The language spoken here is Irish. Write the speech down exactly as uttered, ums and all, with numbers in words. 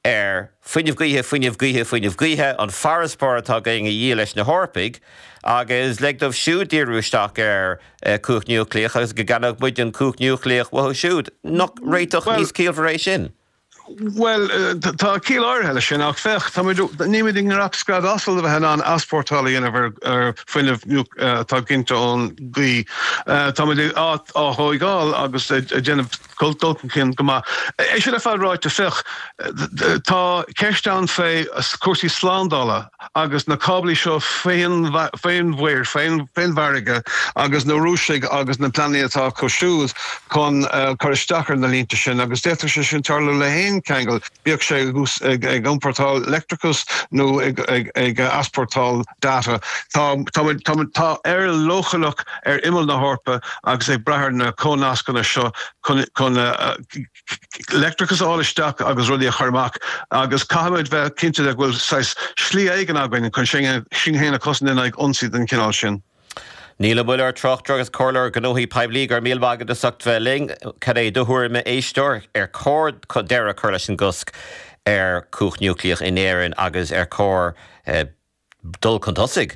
ar fuinneamh gaoithe fuinneamh gaoithe fuinneamh gaoithe an farasbarr atá againn a dhíol leis na hEorpaigh agus lig dóibh siúd díriú isteach ar eh, cumhacht núicléach agus go gceannódh muid an cumhacht núicléach uathu siúd. Nach réiteach níos ciallmhaire é sin. Well eh, tá ciall áirithe leis sin ach féach nílimid i ngnap scread asal a bheith an easpórtáil a dhéanamh ar fuinneamh eh, atá ginte ón gaoth Tá á thógáil agus déanamh dul chun go maith. É sin ar fad ráite féach tá ceist ann fé cúrsaí slándála agus na cáblaí seo fén mhuir fén bhfarraige agus na Rúisigh agus na pleananna atá acu siúd chun cur isteach ar na línte sin agus d'fhéadfadh sé sin tarlú le haon ceangal bíodh sé ag ag iompórtáil leictreachas nó ag ag ag easpórtáil data. Tá tá Éire leochaileach ar imeall na hEorpa agus ag brath ar na comhnascanna seo chun leictreachas a fháil isteach agus rudaí a chur amach agus caithfimid bheith cinnte de go bhfuil saghas slí éigin againn chun sin sin féin a chosaint in aghaidh ionsaí den chineál sin. Niall Ó Muilleoir tráchtaire agus comhairleoir gnóthaí poiblí go raibh míle maith agat as ucht bheith linn cad é do thuairim a éisteoir ar chóir deireadh a chur leis an gcosc ar chumhacht núicléach in Éirinn agus ar chóir eh, dul chun tosaigh